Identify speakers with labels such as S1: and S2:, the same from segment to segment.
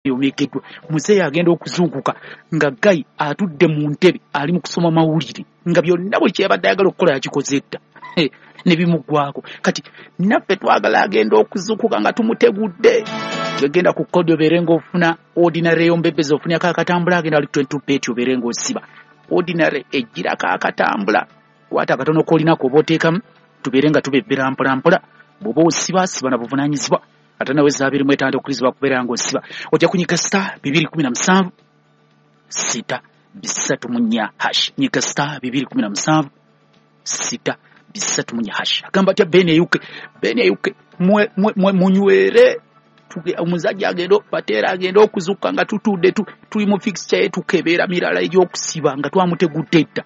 S1: Yomekeddwa muzeeyi agenda okuzuukuka nga Gayi atudde mu ntebe ali mu kusoma mawulire, nga byonna buli kyeyabadde ayagala okukola yakikoze dda ne bimuggwako. Kati naffe twagala agenda okuzuukuka nga tumutegudde. Genda ku kodi obeere ng'ofuna ordinary yombebezi, ofunako akatambula, agenda ali 22 bet obeere ng'osiba ordinary ejjirako akatambula. Kwata akatono k'olinako oba oteekamu, tubeere nga tubebbera mpola mpola. Bw'oba osiba, siba na buvunaanyizibwa. Ate nawe za 25 okurizibwa kubeera ng'osiba, ojja kunyiga *217 634 hash. Nyiga *217 634 hash. Agamba atya Ben Eyuke? Ben Eyuke, munywere. Omuzajja agenda bateera agenda okuzuukuka nga tutudde tuli mu fixture ye, tukebeera mirala egy'okusiba nga twamutegudde dda.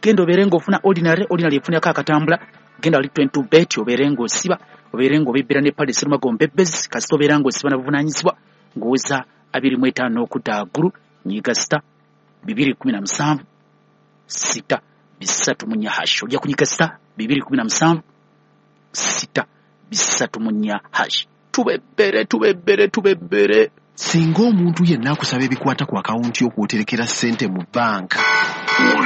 S1: Genda obeere ng'ofuna ordinary, ordinary efunako akatambula. Genda ali 22 bet obeere ng'osiba, obeere ng'obebbera ne pale serumago mbebezi. Kasita obeera ng'osiba na buvunaanyizibwa ng'oweza 25 okudda waggulu. Nyiga *217 634 hash. Ojja kunyiga *217 634 hash. Tubebbere, tubebbere, tubebbere.
S2: Singa omuntu yenna akusaba ebikwata ku akawunti y'okwoterekera ssente mu banka,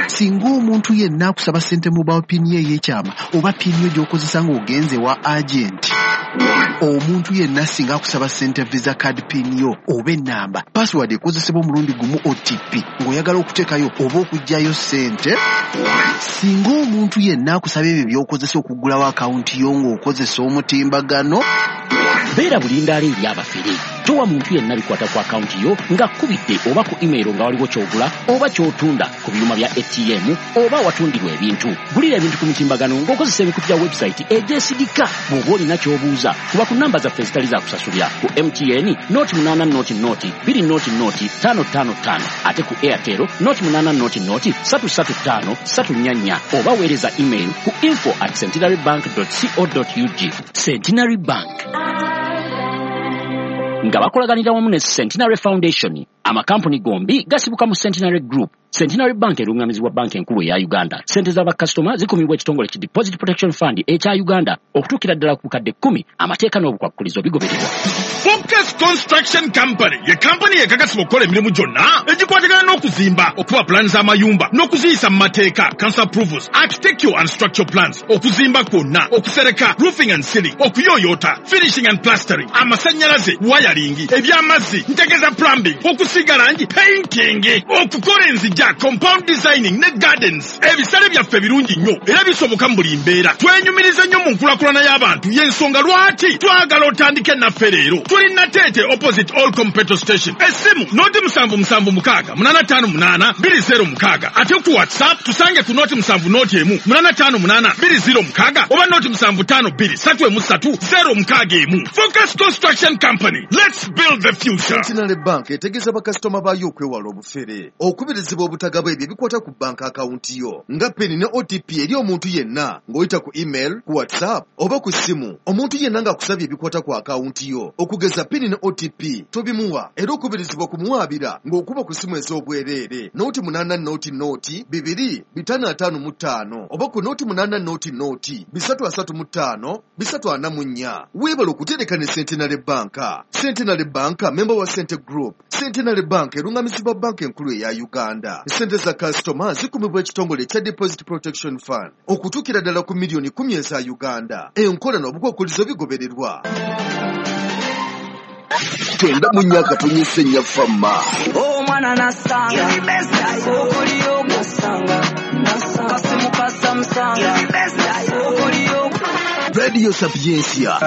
S2: singa omuntu yenna akusaba ssente mobile PIN ye ey'ekyama oba PIN yo gy'okozesa ng'ogenze wa agenti, omuntu yenna singa akusaba ssente visa card PIN yo oba ennamba password ekozesebwa omulundi gumu OTP ng'oyagala okuteekayo oba okuggyayo ssente, singa omuntu yenna akusaba ebyo by'okozesa okuggulawo akawunti yo ng'okozesa omutimbagano,
S3: beera bulindaala eri abafere. Towa muntu yenna bikwata ku akawunti yo ng'akkubidde oba ku email nga waliwo ky'ogula oba ky'otunda ku byuma bya ATM oba awatundirwa ebintu. Gulira ebintu ku mitimbagano ng'okozesa emikutu gya website egyesigika. Bw'oba olina ky'obuuza, kuba ku namba zaffe ezitali za kusasulira. Ku MTN 080 0 20 0 555, ate ku Airtel 080 0 335 344, oba weereza email ku info@centenarybank.co.ug. Centenary Bank nga bakolaganira wamu ne Centenary Foundation. Amakampuni gombi gasibuka mu Centenary Group. Centenary Bank erungamizibwa Banka Enkulu eya Uganda. Sente z'abakasitoma zikumibwa ekitongole ki Deposit Protection Fund ekya Uganda okutuukira ddala ku bukadde 10. Amateeka n'obukwakkulizo bigobererwa.
S4: Focus Construction Company ye kampani ekakasibwa okukola emirimu gyonna egikwatagana n'okuzimba, okuba pulaani z'amayumba n'okuziyisa mu mateeka, council approvals, architectural and structural plans, okuzimba kwonna, okusereka, roofing and ceiling, okuyooyoota, finishing and plastering, amasannyalaze, wiring, eby'amazzi, ntegeeza plumbing, okusiiga langi, painting, okukola enzija, compound designing ne gardens. Ebisale byaffe birungi nnyo era bisoboka mu buli mbeera. Twenyumiriza nnyo mu nkulaakulana y'abantu, y'ensonga lwaki twagala otandike naffe leero. Tuli Nateete, opposite Allcom petrol station. Essimu 077 685 206, ate ku WhatsApp tusange ku 070 1 858 206 oba 075 2 3 061. Focus Construction Company, let's build the future.
S5: Centenary Bank etegeeza bakasitoma baayo okwewala obufere. Okubirizibwa obutagaba ebyo ebikwata ku banka akawunti yo nga PIN ne OTP eri omuntu yenna ng'oyita ku email, ku WhatsApp oba ku ssimu. Omuntu yenna ng'akusabye ebikwata ku akawunti yo okugeza PIN ne OTP, tobimuwa, era okubirizibwa kumuwaabira ng'okuba ku ssimu ez'obwereere 080 0 2 555 oba ku 080 0 335 344. Weebale okutereka ne Centenary Bank. Centenary Bank memba wa Sente Group. Centenary Bank erungamizibwa Banka Enkulu eya Uganda. Sente za kasitoma zikumibwa ekitongole ekya Deposit Protection Fund okutuukira ddala ku miliyoni 10 eza Uganda. Enkola n'obukwakkulizo bigobererwa.
S6: 94.4 Fama.
S7: Omwana nasanga okoliyo nasanga kasimu kasamusanga okoliyo.
S6: Radio Sapiencia.